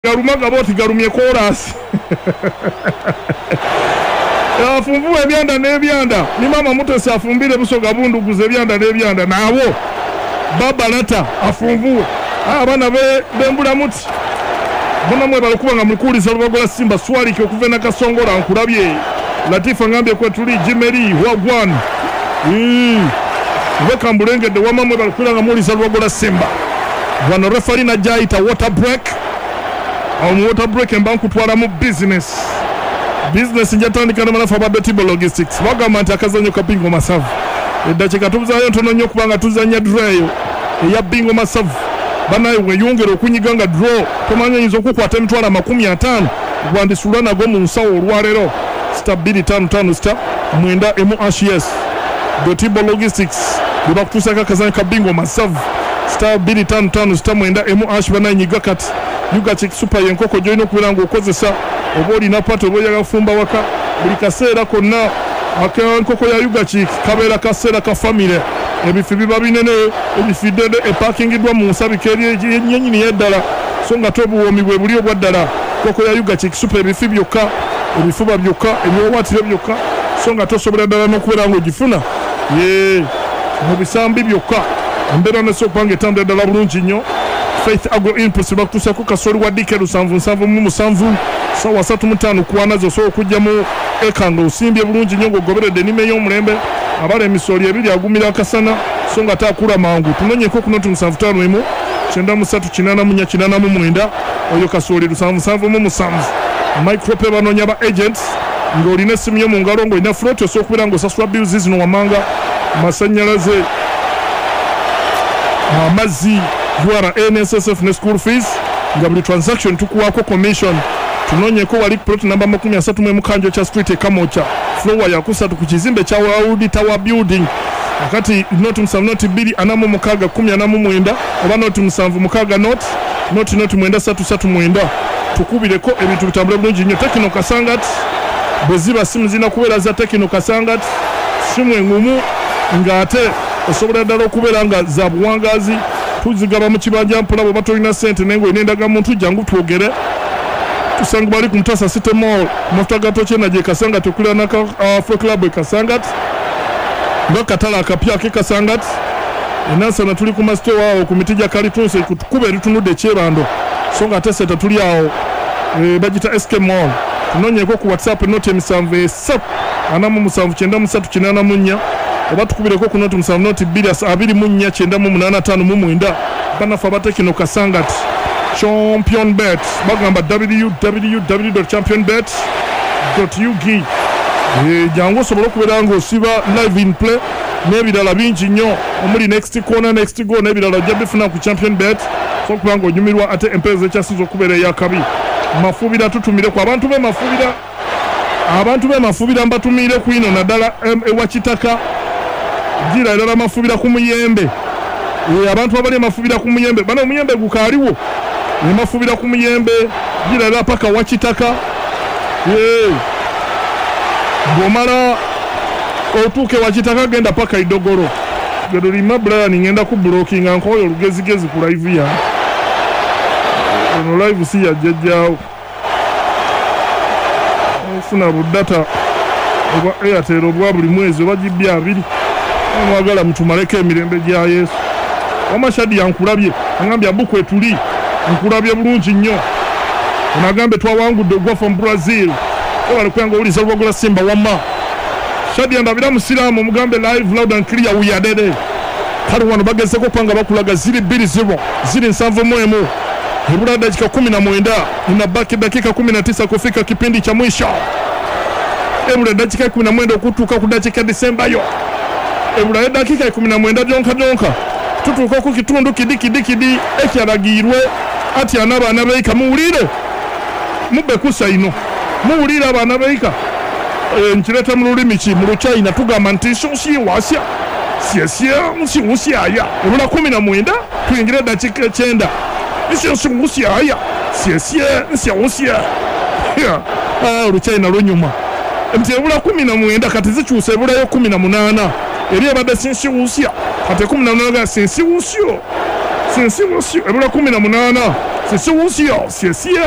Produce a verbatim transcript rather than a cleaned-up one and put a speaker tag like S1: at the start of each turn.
S1: Galuma gaboti galumye chorus. Afunvuwe ebyanda n'ebyanda. Ni mama Mutesi afumbire Busoga bunduguze ebyanda n'ebyanda nabo. Baba Lata afunvuwe. Abaana be bembula muti. Bona mwe balikuba nga mulikuuliza Lubagola Simba Swalike okuva e Nakasongola nkulabye. Latifa ngambye kwe tuli Jimeri Wagwan. Mm. Weka mbulengedde wamma mwe balikuba nga muwuliza Lubagola Simba. Wano referee najja ayita water break. Awo mu water break mba nkutwala mu business. Business njatandika ne banafu aba Betibo Logistics. Bagamba nti akazannyo ka Bingo Masavu. Eddakiika tubuzaayo ntono nnyo kubanga tuzannya draw eyo eya Bingo Masavu. Banaye weyongera okunyiga nga draw tomanya oyinza okukwata emitwalo amakumi ataano gwandisula nago mu nsawo olwaleero. Star bbiri ttaano ttaano star mwenda emu hash yes. Betibo Logistics bwe bakutuusaako akazannyo ka Bingo Masavu. Star bbiri ttaano ttaano star mwenda emu hash banaye nyiga kati. Ugachick Super y'enkoko gy'olina okubeera ng'okozesa oba olina pato oba oyagala kufumba waka buli kaseera konna ak'enkoko ya Ugachick kabeera kaseera ka famire. Ebifi biba binene, ebifi ddene epakingiddwa mu nsabika eri yennyini y'eddala so nga te obuwoomi bwe buli obwa ddala. Enkoko ya Ugachick Super ebifi byokka, ebifuba byokka, ebiwawaatiro byokka so nga tosobola ddala n'okubeera ng'ogifuna ye mu bisambi byokka. Embeera nesobola okuba ng'etambulira ddala bulungi nnyo. Faith Agro Inputs bakutuusako kasooli wa D K lusanvu nsanvu mu musanvu sawa asatu mu ttaano ku wana zo osobola okujja mu eka ng'osimbye bulungi nnyo ng'ogoberedde ennima ey'omulembe. Abala emisooli ebiri agumira akasana so nga taakula mangu. Tunonyeko ku noti musanvu ttaano emu kyenda mu ssatu kinaana mu nnya kinaana mu mwenda oyo kasooli lusanvu nsanvu mu musanvu. Micropay banoonya ba agents ng'olina essimu yo mu ngalo ng'olina float osobola okubeera ng'osasula bills zino wammanga, masannyalaze, amazzi, U R A, N S S F ne school fees nga buli transaction tukuwaako commission. Tunonyeko wali plot namba makumi asatu mu emu Kanjo Street e Kamokya, floor ya kusatu ku kizimbe kya World Tower Building. Akati noti musanvu noti bbiri ana mu mukaaga kkumi ana mu mwenda oba noti musanvu mukaaga noti noti noti mwenda ssatu ssatu mwenda. Tukubireko ebintu bitambule bulungi nnyo. Tekino Kasangat bwe ziba simu zirina kubeera za Tekino Kasangat, simu eŋŋumu ng'ate osobola ddala okubeera nga za buwangaazi. Tuzigaba mu kibanja mpola bw'oba tolina ssente naye ng'olina endagamuntu jangu twogere. Tusanga bali ku Mutasa City Mall ku mafuta ga Tochena gye Kasangat okuliraana ka Afro Club e Kasangat nga katale akapya ak'e Kasangat. Enansana tuli ku masitowa awo ku miti gya kalitunsi ku kkubo eritunudde Kyebando so nga ate Seta tuli awo e, bagita S K Mall. Tunonyeeko ku WhatsApp noti emisanvu esatu ana mu musanvu kyenda mu ssatu kinaana mu nnya oba tukubireko ku noti musanvu noti bbiri abiri mu nnya kyenda mu munaana ttaano mu mwenda. Bannaffe aba Tekino Kasangat Champion Bet bagamba w w w dot champion bet dot u g. Jangu osobole okubeera ng'osiba live in play n'ebirala bingi nnyo omuli next corner, next goal n'ebirala ojja bifuna ku Champion Bet so okuba ng'onyumirwa ate empeereza ekyasinze okubeera ey'akabi. Mafubira tutumireko abantu b'e Mafubira, abantu b'e Mafubira mbatumiire ku ino naddala ewa Kitaka gira erala Mafubira ku Muyembe. Abantu abali e Mafubira ku Muyembe bano omuyembe gukaaliwo e Mafubira ku Muyembe gira erala paka wa Kitaka. Bw'omala otuuke wa Kitaka genda paka Idogoro. Gerulima Brian ngenda ku blockinga nkoyo olugezigezi ku live yange. Ono live si ya jjajjaawo. Ofuna budata oba Airtel obwa buli mwezi oba G B abiri. Mwagala mutumaleko emirembe gya Yesu. Wamashadi yankulabye angambye abukwe tuli nkulabye bulungi nnyo. Onagambe twawangudde ogwa from Brazil. Obale kuyanga owuliza Lubagola Simba wamma. Shadi andabira musiraamu mugambe live loud and clear we are dead. Kale wano bagezeko okubanga bakulaga ziri bbiri zero ziri nsanvu mu emu. Ebula dakika kumi na mwenda inabaki dakika kumi na tisa kufika kipindi cha mwisho. Ebula dakika kumi na mwenda okutuuka ku dakika Disemba yo. Ebula dakika kumi na mwenda gyonka gyonka tutuuka ku kitundu kidi kidi kidi ekyalagirwe ati anabaana beika muwulire mube kusa ino muwulire abaana beika. E, nkireta mu lulimi ki mu Luchina tugamba nti shinwasya syesyenshiwusyaya. Ebula kumi na mwenda tuyingire dakika ekyenda. Nshinwusyaya syesyenshiwusya. Oluchina lunyuma nti ebula kumi na mwenda kati zikyusa ebulayo kumi na munaana eri ebadde sinshiwusya kati kumi na munaana ga sinsiwusyo sinsiwusyo ebula kumi na munaana 谢谢吴晓，谢谢。